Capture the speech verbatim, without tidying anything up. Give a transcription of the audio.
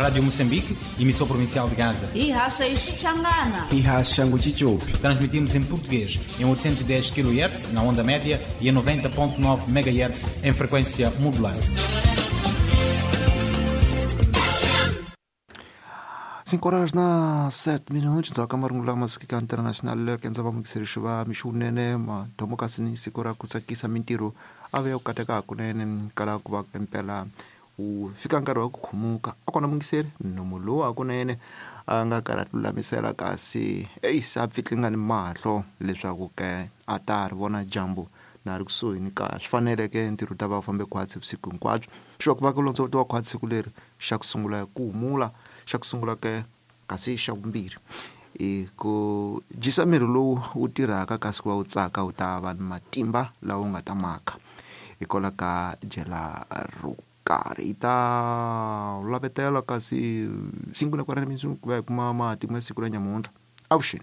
Rádio Moçambique, emissão provincial de Gaza. Ihasha Xichangana. Ihasha Nguchichopi. Transmitimos em português em oitocentos e dez quilohertz na onda média e em noventa ponto nove megahertz em frequência modulada. Cinco horas na sete minutos za kamarungula masukika international kenza va mukiseri va mixunene madomokasini siku ra ku tsakisa mintirho a ve u kateka kunene kala ku va mpela u fika nkarhi wa ku khumuka a kona mungiseri nomu lowu hakunene a nga kala lulamisela kasi eyi se a pfitlingani mahlo leswaku ke a ta ri vona dyambu na ri kusuhi ni ka swi faneleke ntirho ta va u fambe khwatsi vusiku hinkwabyo xi va ku va ku londzovutiwa khwatsi siku leri xa ku sungula ku humula xa ku sungula ke kasi xa vumbirhi i ku dyisa miri lowu wu tirhaka kasi ku va wu tsaka wu ta va ni matimba lawa wu nga ta maka hikwalaho ka dyela ro karhi yi ta lavetela kasi cinco na quarenta minutos ku va hi kuma matimu ya siku ra nyamuntlha avuxeni.